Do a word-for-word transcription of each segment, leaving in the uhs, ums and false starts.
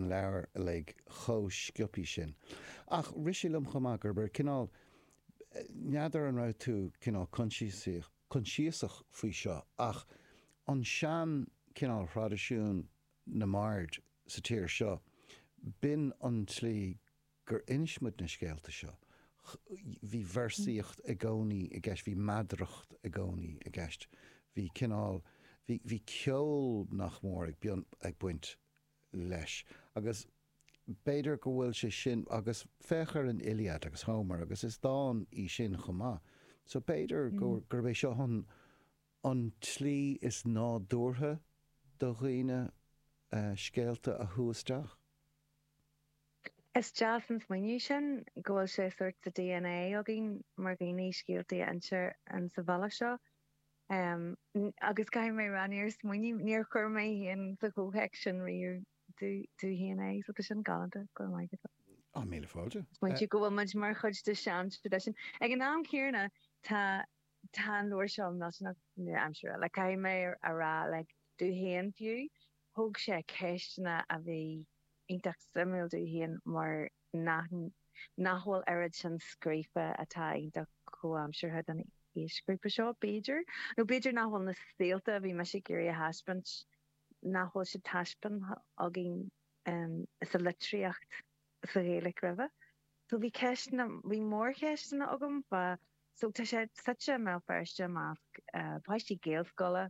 an leabhar uilig chomh sciobtha sin. Ach rith sé liom chomh maith gurb ar cineál, n'fheadar an raibh tú cineál coinsiasach faoi seo, ach an sean cineál thraidisiún na mbard sa tír seo, b'in an tslí gur inis muid na scéalta seo. Bhí véarsaíocht i gcónaí i gceist, bhí meadaracht i gcónaí i gceist, bhí cineál, bhí, bhí ceol nach mór ag, ag baint leis. Agus b'fhéidir go bhfuil sé sin, agus féach ar an Iliad agus Homer agus is dán í sin chomh maith. So b'fhéidir mm. gurb é seo an, an tslí is nádúrtha do dhaoine uh, scéalta a shú isteach. Is deas an smaoineamh sin go bhfuil sé sort sa D N A againn mar dhaoine scéalta a inse an sa bhealach seo. Um, agus caithfidh mé rá, níor smaoinigh, níor chuir mé féin sa chomhthéacs sin riamh domh féin é, so tá sin galánta, go maith. Á, míle fáilte. Smaointiú go bhfuil muid mar chuid de sean tradition. Ag an am céanna, tá tá an leabhar seo millteanach nua-aimseartha. Le caithfidh mé a rá, like, domh féin fiú, thóg sé ceisteanna a bhí iontach suimiúil domh féin mar nach nach bhfuil oiread sin scríofa atá iontach comhaimseartha don aoisghrúpa seo, b'fhéidir. Nó b'fhéidir nach bhfuil na saolta a bhí mise ag iarraidh a thaispeáint, nach bhfuil siad taispeánta againn um, sa litríocht sa Ghaeilge roimhe. So bhí ceisteanna, bhí mórcheisteanna agam fa so tá sé suite i mBéal Feirste i measc uh, páistí Gaelscoile,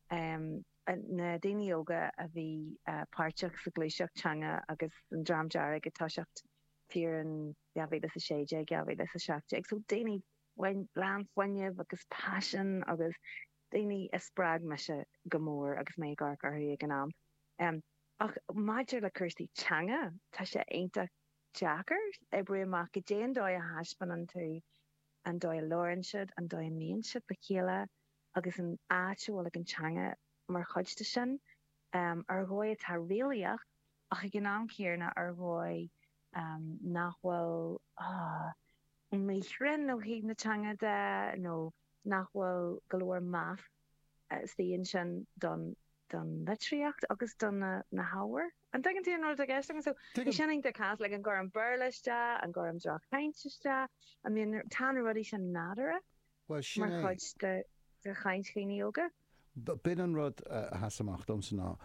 um, na daoine óga a bhí uh, páirteach sa ghluaiseacht teanga agus an Dream Dearg ag toiseacht thiar in dhá mhíle a sé déag, dhá mhíle a seacht déag. So daoine lán fuinnimh agus paisean agus daoine a spreag mise go mór agus mé ag amharc orthu ag an am. Um, ach maidir le cúrsaí teanga, tá sé iontach deacair oibriú amach go dté an dóigh a thaispeánann tú an dóigh a labhraíonn siad, an dóigh a mbíonn siad le chéile agus an áit a bhfuil ag an teanga mar chuid de sin. Um, ar dhóigh atá réalaíoch ach ag an am céanna ar dhóigh um, nach bhfuil ah, míchruinn ó thaobh na teanga de nó nach bhfuil go leor meas istigh ansin don don litríocht agus don na, na hábhair. An dtuigeann tú an rud atá i gceist? So bhí sin iontach cás le an gcuirim an Béarla isteach, an gcuirim droch-chaint isteach, I mean, tá na rudaí sin nádúrtha Well, sin mar é. chuid de de chaint dhaoine óga. B'in an rud a sheas amach domsa ná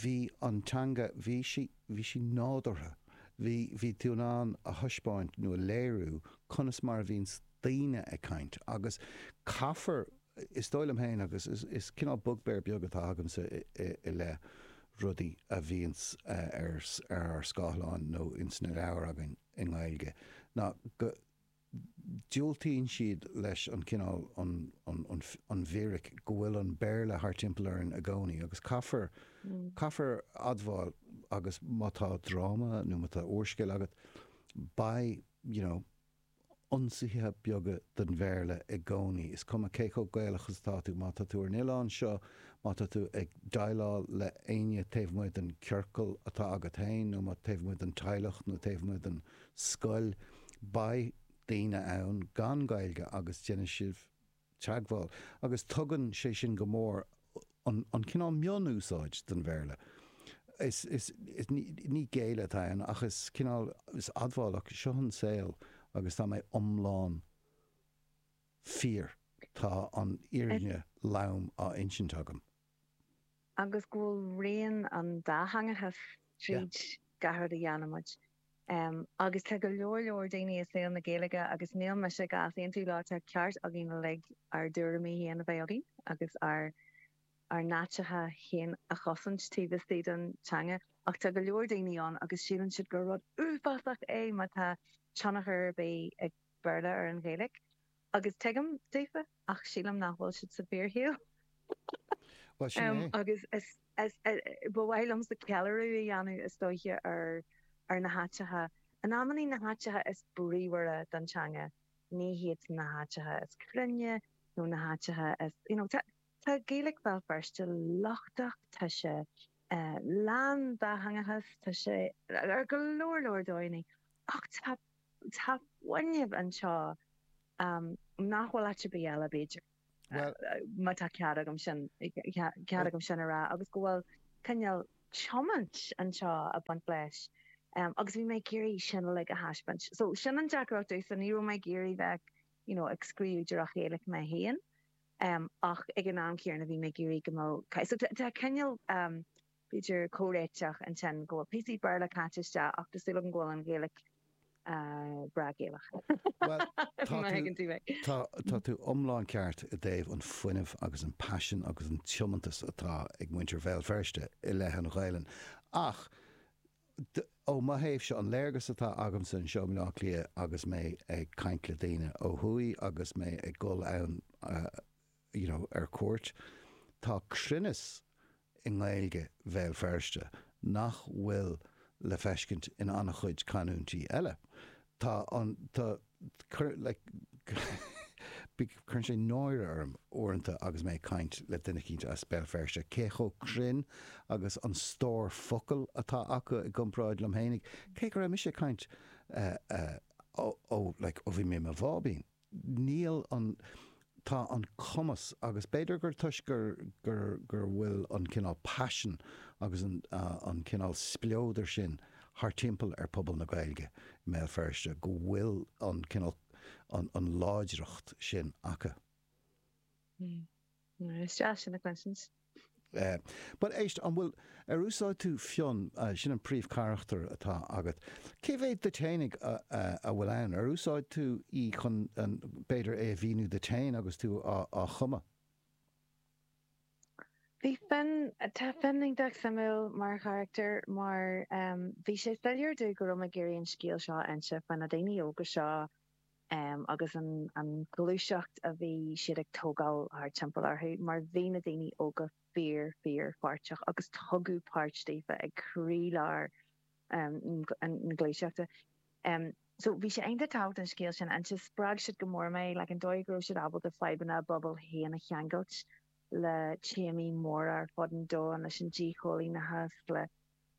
bhí an teanga, bhí sí bhí sí nádúrtha. Bhí bhí tú in ann a thaispeáint nó a léiriú conas mar a bhíonn daoine ag caint agus caithfear, is dóigh liom féin, agus is, is cineál bugbear beag atá agamsa i, i, i leith rudaí a bhíonns ar ar ár scáileáin nó ins na leabhair againn i nGaeilge ná go diúltaíonn siad leis an cineál an, an, an, an bhfíric go bhfuil an Béarla thar timpeall orainn i gcónaí agus caithfear Mm. caithfear admháil agus má tá dráma nó má tá úrscéal agat, beidh you know, ionsaithe beaga den Bhéarla i gcónaí. Is cuma cé chomh Gaelach is atá tú, má tá tú ar an oileán seo, má tá tú ag déileáil le éinne taobh amuigh den ciorcal atá agat féin nó má taobh amuigh den teaghlach nó taobh amuigh den scoil, beidh daoine ann gan Gaeilge agus déanfaidh sibh teagmháil. Agus tugann sé sin go mór an, an cineál mionúsáid den Bhéarla. Is, is, is ní, ní géilleadh atá ann ach is cineál is admháil seo an saol agus tá mé iomlán fíor, tá an fhírinne lom á insint agam. Agus go bhfuil rian an dátheangachas tríd gach rud a dhéanaimid. Um, agus tá go leor leor daoine i saol na Gaeilge, agus níl mise ag easaontú leo, tá ceart againn le ár dtuairimí féin a bheith againn agus ár ár n-áiteacha féin a chosaint taobh istigh den teanga, ach tá go leor daoine ann agus síleann siad gur rud uafásach é má tá tionchar ar bith ag Béarla ar an Ghaeilge. Agus tuigim daofa, ach sílim nach bhfuil siad sa bhfíorshaol. Well, sin Um, é. agus is, is, ba mhaith liomsa ceiliúradh a dhéanamh, is dóiche, ar ar na háiteacha. In amannaí, na háiteacha is bríomhaire don teanga, ní hiad na háiteacha is cruinne nó na háiteacha is you know, tá tá Gaeilge Bhéal Feirste lochtach, tá sé uh, lán dátheangachas, tá sé ar go leor leor dóigheanna, ach tá tá fuinneamh anseo um, nach bhfuil áit ar bith eile, b'fhéidir. Well, Má tá cead agam sin cead agam sin a rá, agus go bhfuil cineál tiomáint anseo ag baint leis um, agus bhí mé ag iarraidh sin uilig a thaispeáint. So sin an deacracht so ní raibh mé ag iarraidh bheith you know, ag scríobh díreach Gaeilge mé féin um, ach ag an am céanna bhí mé ag iarraidh go mbeadh so tá cineál um, b'fhéidir comhréiteach ansin go bhfuil píosaí Béarla caite isteach ach tá súil agam go bhfuil an Ghaeilge uh, breá Gaelach. Well, tá tú, tá, tá tú iomlán ceart i dtaobh an fuinneamh agus an passion agus an tiomantas atá ag muintir Bhéal Feirste i leith an Ghaelainn. Ach ó mo thaobhsa an léargas atá agamsa anseo i mBaile Átha Cliath agus mé ag caint le daoine ó thuaidh agus mé ag dul ann uh, you know, ar cuairt, tá cruinneas i nGaeilge Bhéal Feirste nach bhfuil le feiscint in an-chuid canúintí eile. Tá an tá cur like, cuireann sé náire orm uaireanta agus mé ag caint le duine éicint as Béal Feirste cé chomh cruinn agus an stór focal atá acu i gcomparáid liom féinig, cé go raibh mise ag caint uh, uh, ó, ó, like, ó bhí mé mo bháibín. Níl an tá an cumas agus b'fhéidir gur toisc gur gur gur bhfuil an cineál passion agus an, uh, an cineál spleodar sin thar timpeall ar pobal na Gaeilge i mBéal Feirste go bhfuil an cineál an, an láidreacht sin acu. Mm. Is deas sin a chluinstin. Uh, but éist an bhfuil ar úsáid tú Fionn uh, sin an príomhcharachtar atá agat. Cé mhéad díot féinig a, a, a bhfuil ann ar úsáid tú í chun an b'fhéidir é a mhíniú duit féin agus tú á, á chumadh? Bhí Fionn tá Fionn iontach suimiúil mar charachtar mar um, bhí sé soiléir domh go raibh mé ag iarraidh an scéal seo a inse faoi na daoine óga seo um, agus an, an ghluaiseacht a bhí siad ag tógáil thar timpeall orthu mar bhí na daoine óga fíor fíor pháirteach agus tugadh páirt daofa ag croílár um, an, an ghluaiseachta. Um, so bhí sé iontach tábhachtach an scéal sin an spreag siad go mór mé le an dóigh go raibh siad ábalta fadhbanna a bpobal féin a cheangailt le téamaí móra ar fud an domhain leis an díchoilíneachas le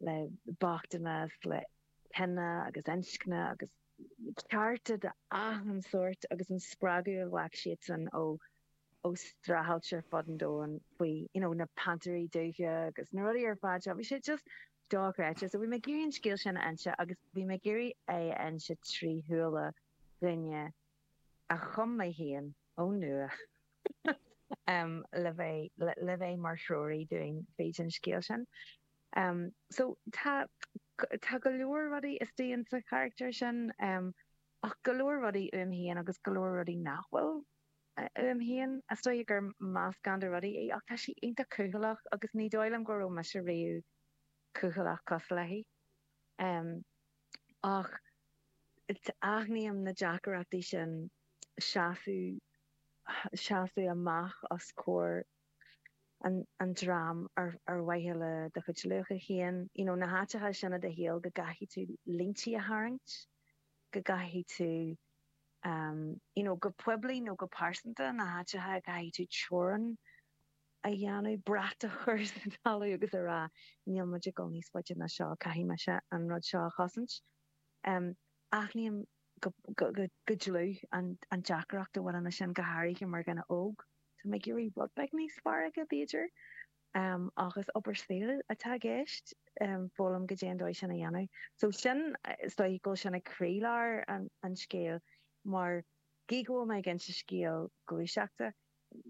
le bochtanas le cine agus inscne agus cearta de achan sórt agus an spreagadh a ghlac siad san ó ó streachailt ar fud an domhain faoi you know, na Pantarí Dubha agus na rudaí ar fad seo. Bhí sé just dochreidte. So bhí mé ag iarraidh an scéal sin a inse agus bhí mé ag iarraidh é a inse trí shúile duine a chum mé féin ó nua um, le bheith le, le bheith mar threoraí dúinn fríd an scéal sin. Um, so tá tá go leor rudaí istigh sa charachtar sin um, ach go leor rudaí uaim féin agus go leor rudaí nach bhfuil uaim féin is dóigh gur meascán de rudaí é ach tá sí iontach cúthaileach agus ní dóigh liom go raibh mise riamh cúthaileach cosúil léi. Um, ach aithním na deacrachtaí sin seasamh seasamh amach os comhair an, an dream ar, ar mhaithe le do chuid luacha féin, you know, na háiteacha sin i do shaol go gcaithfidh tú línte a tharraingt, go gcaithfidh tú um, you know, go poiblí nó go pearsanta na háiteacha a gcaithfidh tú teorainn a dhéanamh brat a chur sa talamh agus a rá níl muid ag dul níos faide ná seo caithfidh mise an rud seo a chosaint. Um, aithním go, go, go, go dlúth an, an deacracht a bhaineann leis sin go háirithe mar dhuine óg. Tá mé ag iarraidh rud beag níos fearr aige b'fhéidir. Um, agus obair saoil atá i gceist um, foghlaim go dtí an dóigh sin a dhéanamh. So sin is dóigh go sin ag croílár an, an scéil mar gí go bhfuil mé ag inse scéal gluaiseachta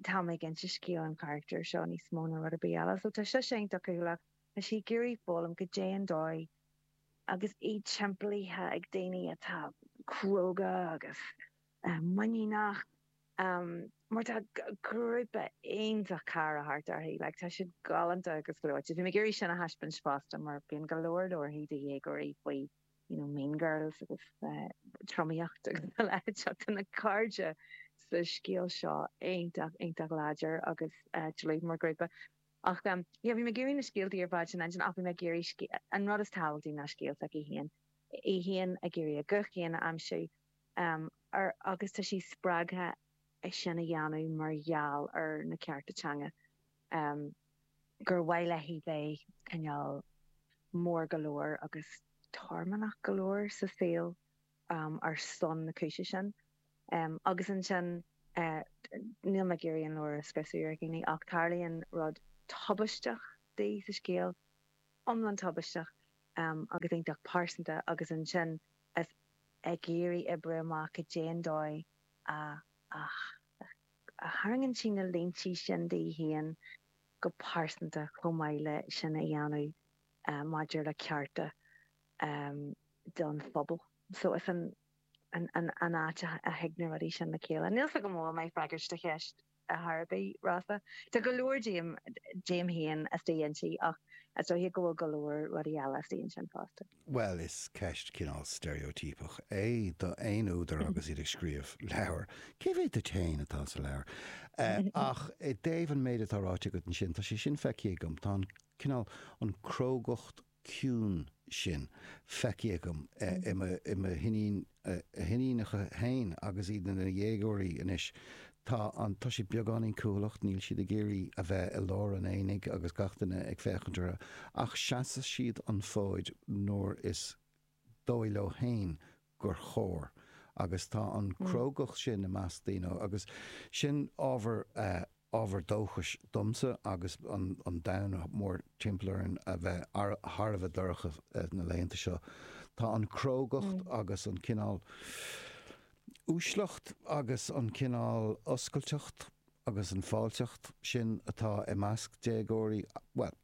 tá mé ag inse scéal an charachtar seo níos mó ná rud ar bith eile. So tá sé sin cúthaileach tá sí ag iarraidh foghlaim go dtí an dóigh agus í timpeallaithe ag daoine atá cróga agus um, muiníneach um, mar tá grúpa iontach cara thart uirthi, like, tá siad galánta agus gleoite. Bhí mé ag iarraidh sin a thaispeáint fosta mar bíonn go leor leabharthaí do dhéagóirí faoi you know, Mean Girls agus uh, tromaíocht agus a leithéid tá na cairde sa scéal seo iontach iontach láidir agus uh, dlúth mar grúpa. Ach um, yeah, bhí mé ag iarraidh na scéaltaí ar fad sin ansin ach bhí mé ag iarraidh an rud is tábhachtaí ná scéal s'aici féin. Í féin ag iarraidh a guth féin a aimsiú um, ar, agus tá sí spreagtha é sin a dhéanamh mar gheall ar na cearta teanga. Um, gur mhaith léi bheith cineál mór go leor agus tormannach go leor sa saol um, ar son na cúise sin. Um, agus ansin uh, níl mé ag iarraidh an leabhar a scriosadh ar dhaoine ach tarlaíonn rud tubaisteach di sa scéal iomlán tubaisteach agus iontach pearsanta agus ansin is ag iarraidh oibriú amach cad é an dóigh a a tharraingíonn sí na línte sin di féin go pearsanta chomh maith le sin a dhéanamh maidir le cearta don phobal. So is an an an áit a thig na rudaí sin le chéile. Níl 's agam an bhfuil mé ag freagairt do cheist ar bith, Rossa. Tá go leor díom díom féin istigh inti ach is dóiche go bhfuil go leor rudaí eile istigh ansin fosta. Bhuel, is ceist cineál steiréitíopach é do aon údar agus iad ag scríobh leabhar. Cé mhéad duit féin atá sa leabhar? Ach i dtaobh an méid atá ráite agat ansin, tá sé sin feicthe agam, tá an cineál, an crógacht ciúin sin feicthe agam i mo hiníonacha féin agus iad ina ndéagóirí anois. Tá an, tá siad beagáinín cúthaileach, níl siad ag iarraidh a bheith i lár an aonaigh agus gach duine ag féachaint orthu, ach seasann siad an fód nuair is dóigh leo féin gur chóir. Agus tá an crógacht sin i measc daoine agus sin ábhar ábhar dóchais domsa agus an an domhan mór timpeall orainn a bheith thar a bheith dorcha na laethanta seo. Tá an crógacht agus an cineál uaisleacht agus an cineál oscailteacht agus an fáilteacht sin atá i measc déagóirí, bhuel,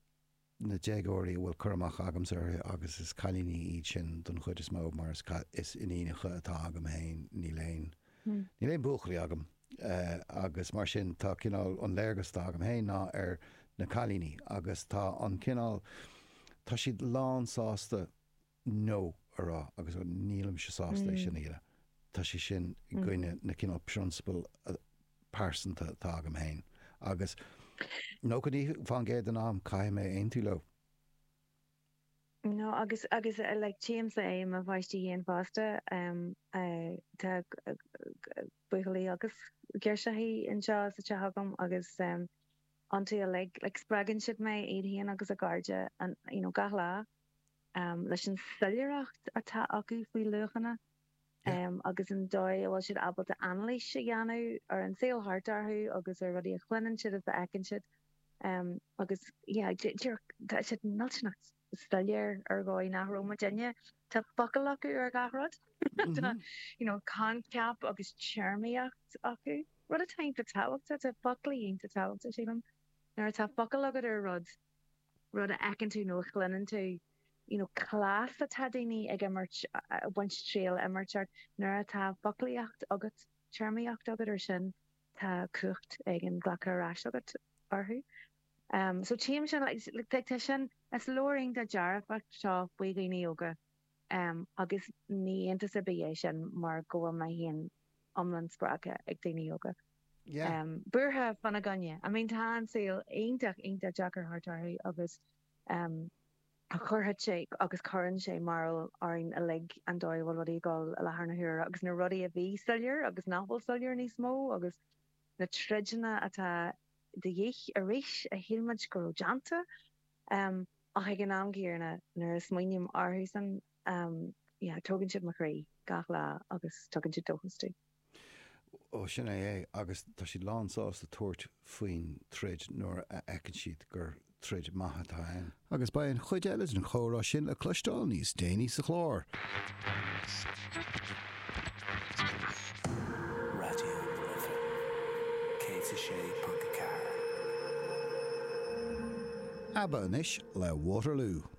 na déagóirí a bhfuil cur amach agamsa orthu agus is cailíní iad sin don chuid is mó mar is is iníonacha atá agam féin, níl aon, níl aon buachaillí agam agus mar sin tá cineál an léargas atá agam féin ná ar na cailíní agus tá an cineál, tá siad lán sásta no a rá agus nílimse sásta é sin a dhéanamh. Tá sé sin i gcoinne na cineál prionsabal pearsanta atá agam féin agus nócha naoi faoin gcéad den am caithfidh mé aontú leo. No agus agus like tchímse é i mo pháistí féin fosta tá buachaillí agus girseachaí anseo sa teach agam agus iontu uilig like spreagann siad mé iad féin agus a gcairde an you know gach lá leis an soiléireacht atá acu faoi luachanna agus an dóigh a bhfuil siad ábalta anailís a dhéanamh ar an saol thart orthu agus ar rudaí a chluineann siad is a fheiceann siad agus yeah tá siad millteanach soiléir ar dhóigh nach raibh muidinne. Tá focal acu ar gach rud. Tá you know coincheap agus téarmaíocht acu. Rud atá iontach tábhachtach, tá foclaí iontach tábhachtach sílim. Nuair atá focal agat ar rud, rud a fheiceann tú nó a chluineann tú, you know cleas atá daoine ag imirt, ag baint triail imirt ort, nuair atá foclaíocht agat, téarmaíocht agat ar sin, tá cumhacht éigin glactha ar ais agat orthu. Um, so tchím sin, like, like, tá sin, is leabhar iontach dearfach seo faoi dhaoine óga um, agus ní iontas ar bith é sin mar go bhfuil mé féin iomlán spreagtha ag daoine óga. Yeah. Um, buartha fána gcoinne. I mean, tá an saol iontach iontach deacair thart orthu agus um, chuirfeadh sé agus cuireann sé mearbhall orainn uilig an dóigh a bhfuil rudaí ag dul i láthair na huaire agus na rudaí a bhí soiléir agus nach bhfuil soiléir níos mó agus na troideanna atá de dhíth arís a shíl muid go raibh déanta. Ach ag an am céanna nuair a smaoiním orthusan, yeah, tógann siad mo chroí gach lá agus tugann siad dóchas domh. Ó, sin é é, agus tá siad lán sásta tabhairt faoin troid nuair a fheiceann siad gur troid maith atá ann. Agus beidh an chuid eile den chomhrá sin le cloisteáil níos déanaí sa chlár. Raidió na Life céad a sé ponc a ceathair. ABBA anois le Waterloo.